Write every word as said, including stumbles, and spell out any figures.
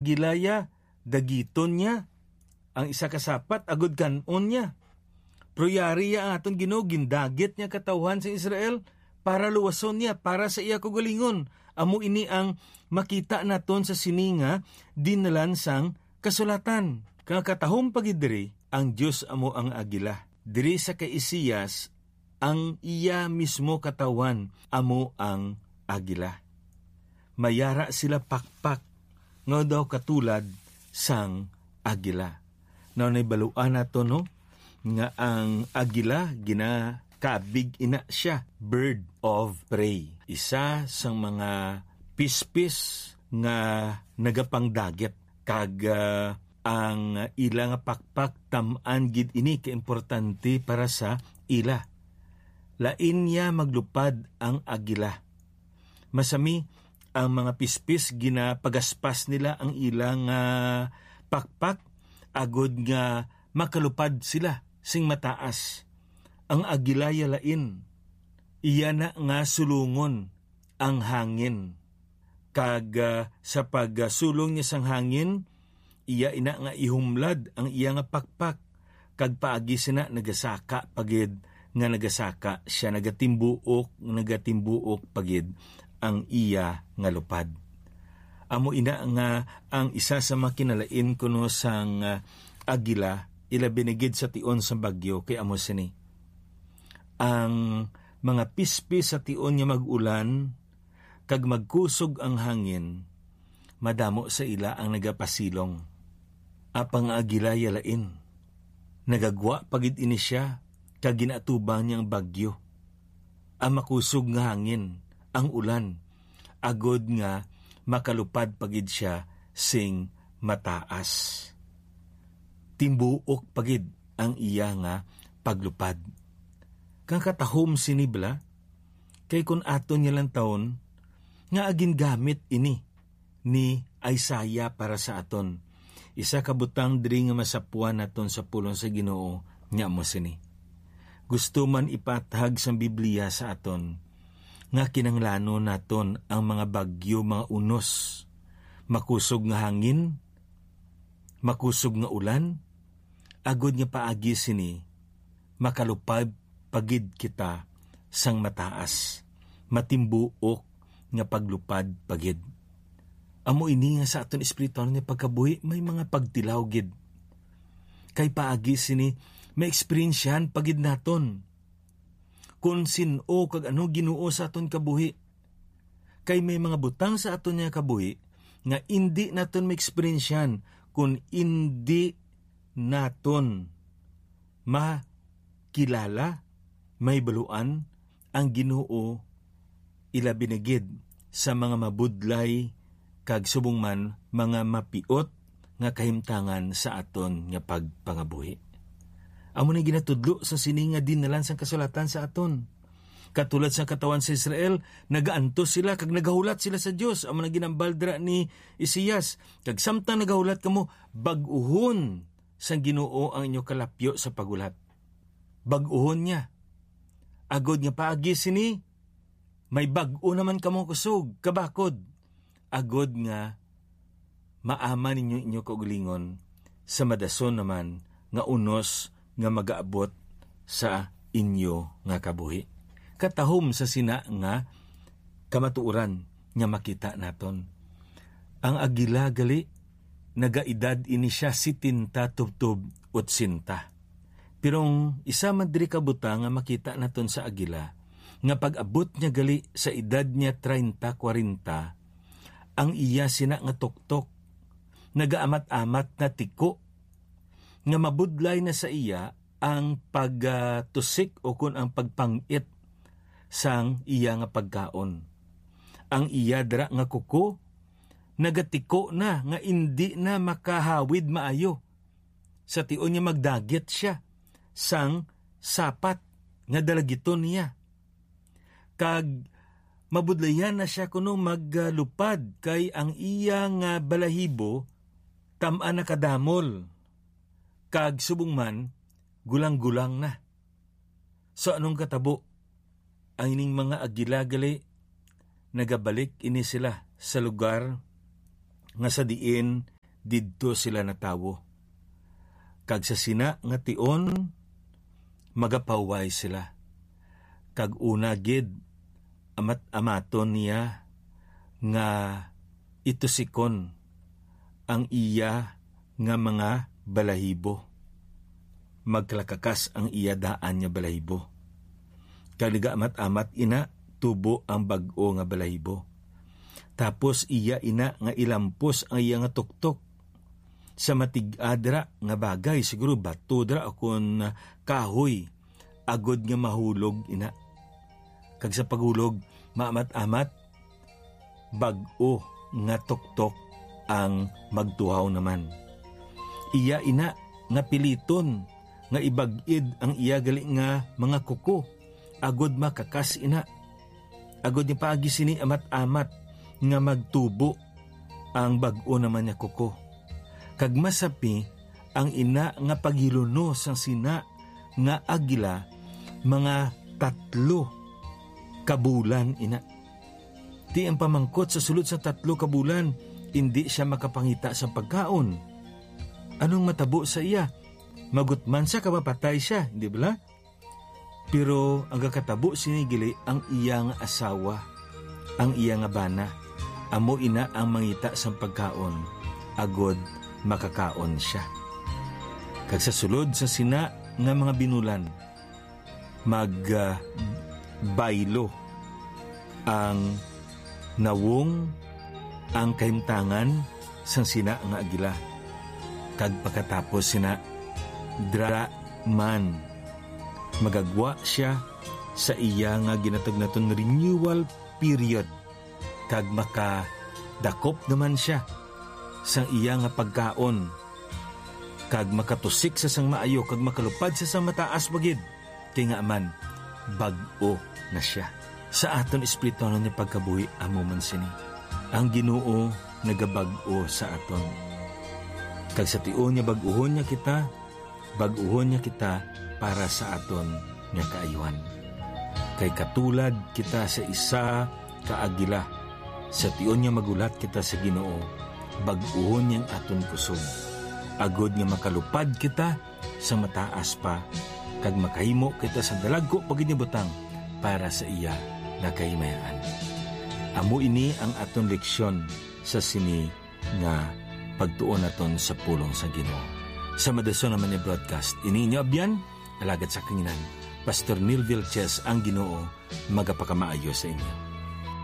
agila ya, dagiton niya. Ang isa ka sapat, agod kan-on niya. Pero yari ya ang aton Ginoo, gindagit niya katawhan sa Israel para luwason niya, para sa iya kaugalingon. Amo ini ang makita naton sa sini nga dinalan sang kasulatan. Kang katahom pa gid diri, ang Dios amo ang agila. Diri sa kay Isaias, ang iya mismo katawhan amo ang agila. Mayara sila pakpak nga daw katulad sang agila. Now, nahibaluan nato, no, nga ang agila, ginakabig ina siya, bird of prey. Isa sang mga pispis nga nagapangdagit, kag, ah, ang ila nga pakpak, tam-an gid ini kaimportante para sa ila. Lain niya maglupad ang agila. Masami, ang mga pispis, ginapagaspas nila ang ila nga pakpak agod nga makalupad sila sing mataas. Ang agila ya lain, iya na nga sulungon ang hangin, kag, ah, sa pagsulong niya sang hangin, iya ina nga ihumlad ang iya nga pakpak, kag paagi sina nagasaka pa gid nga nagasaka sia, nagatimbuok, nagatimbuok pa gid ang iya nga lupad. Amo ina nga ang isa sa mga kinalain kuno sang, ah, agila, ilabi na gid sa tion sa bagyo, kay amo sini: ang mga pispis sa tion nga mag-ulan kag magkusog ang hangin, madamo sa ila ang nagapasilong. Apang ang agila ya lain, nagagwa pa gid ini sia, kag ginaatubang niya ang bagyo, ang makusog nga hangin, ang ulan, agod nga makalupad pa gid sia sing mataas. Timbuok pa gid ang iya nga paglupad. Kang katahom sini bala, kay kun aton niya lantawon, nga agingamit ini ni Isaiah para sa aton. Isa ka butang diri nga masapuan naton sa pulong sa Ginoo, nga amo sini: gusto man ipatahag sang Biblia sa aton nga kinahanglanon naton ang mga bagyo, mga unos, makusog nga hangin, makusog nga ulan, agod nga paagi sini makalupad pa gid kita sang mataas, matimbuok nga paglupad pa gid. Amo ini nga sa aton espiritual nga pagkabuhi may mga pagtilaw gid. Kay paagi sini, maeksperiensyahan pa gid naton kon sin-o kag ano Ginoo sa aton kabuhi. Kay may mga butang sa aton nga kabuhi nga indi naton maeksperiensyahan kon indi naton makilala, mahibaluan ang Ginoo, ilabi na gid sa mga mabudlay kag subong man mga mapiot nga kahimtangan sa aton nga pagpangabuhi. Amo na ginatudlo sa sini nga dinalan sang kasulatan sa aton. Katulad sang katawhan sa Israel, nagaantos sila kag nagahulat sila sa Dios. Amo na ginambal dira ni Isaias: "Kag samtang nagahulat kamo, bag-uhon sang Ginoo ang inyo kalapyo sa paghulat. Bag-uhon niya, agod nga paagi sini may bag-o naman kamo kusog, kabakod, agod nga maaman ninyo inyo kaugalingon sa madason naman nga unos nga magaabot sa inyo nga kabuhi." Katahom sa sina nga kamatuoran nga makita naton. Ang agila gali, nagaedad ini sia setenta tubtob otsenta. Pero ang isa man diri ka butang nga makita naton sa agila, nga pag-abot niya gali sa edad niya treinta, kwarenta, ang iya sina nga tuktok nagaamat-amat na tiko, nga mabudlay na sa iya ang pagtusik ukon ang pagpang-it sang iya nga pagkaon. Ang iya dira nga kuko nagatiko na nga indi na makahawid maayo, sa tion nga magdagit sia sang sapat nga dalagiton niya. Kag mabudlayan na sia kuno maglupad, kay ang iya nga balahibo tam-an nakadamol, kag subong man, gulang-gulang na. So, anong katabo? Ang ining mga agila gali, nagabalik ini sila sa lugar nga sa diin didto sila natawo. Kag sa sina nga tion, magapahuway sila. Kag una gid, amat-amaton niya nga itusikon ang iya nga mga balahibo. Magkalakakas ang iya daan nga balahibo. Kag nagaamat-amat ina tubo ang bag-o nga balahibo. Tapos iya ina nga ilampos ang iya nga tuktok sa matig-a dira nga bagay, siguro bato dira o kon kahoy, agod nga mahulog ina. Kag sa paghulog, maamat-amat, bag-o nga tuktok ang magtuhaw naman. Iya ina nga piliton nga ibag-id ang iya gali nga mga kuko, agod makakas ina. Agod nga paagi sini amat-amat nga magtubo ang bag-o naman nga kuko. Kag masapi ang ina nga paghiluno sang sina nga agila mga tatlo ka bulan ina. Ti ang pamangkot sa sulod sa tatlo ka bulan, indi sia makapangita sa pagkaon. Anong matabo sa iya? Magutman sia ka mapatay sia, di bala? Pero ang gakatabo sini gali ang iya nga asawa, ang iya nga bana. Amo ina ang mangita sang pagkaon, agod makakaon sia. Kag sa sulod sa sina nga mga binulan, mag, ah, baylo ang nawong ang kahimtangan sang sina nga agila. Kag pagkatapos sina, dira man, magagwa sia sa iya nga ginatag naton renewal period, kag makadakop naman sia sang iya nga pagkaon, kag makatusik sa sang maayo, kag makalupad sa sang mataas pa gid, kay ngaa man, bag-o na sia. Sa aton espirituhanon nga pagkabuhi, amo man sini. Ang Ginoo nagabag-o sa aton. Kag sa tion nga bag-uhon niya kita, bag-uhon niya kita para sa aton nga kaayuhan. Kay katulad kita sa isa ka agila, sa tion nga maghulat kita sa Ginoo, bag-uhon niya ang aton kusog, agod nga makalupad kita sa mataas pa, kag makahimo kita sa dalagko pa gid nga butang para sa iya nga kahimayaan. Amo ini ang aton leksyon sa sini nga pagtuon naton sa pulong sa Ginoo. Sa madason naman ni broadcast, ini inyo abyan, alagad sa kanginan, Pastor Neil Vilches, ang Ginoo magapakamaayo sa inyo.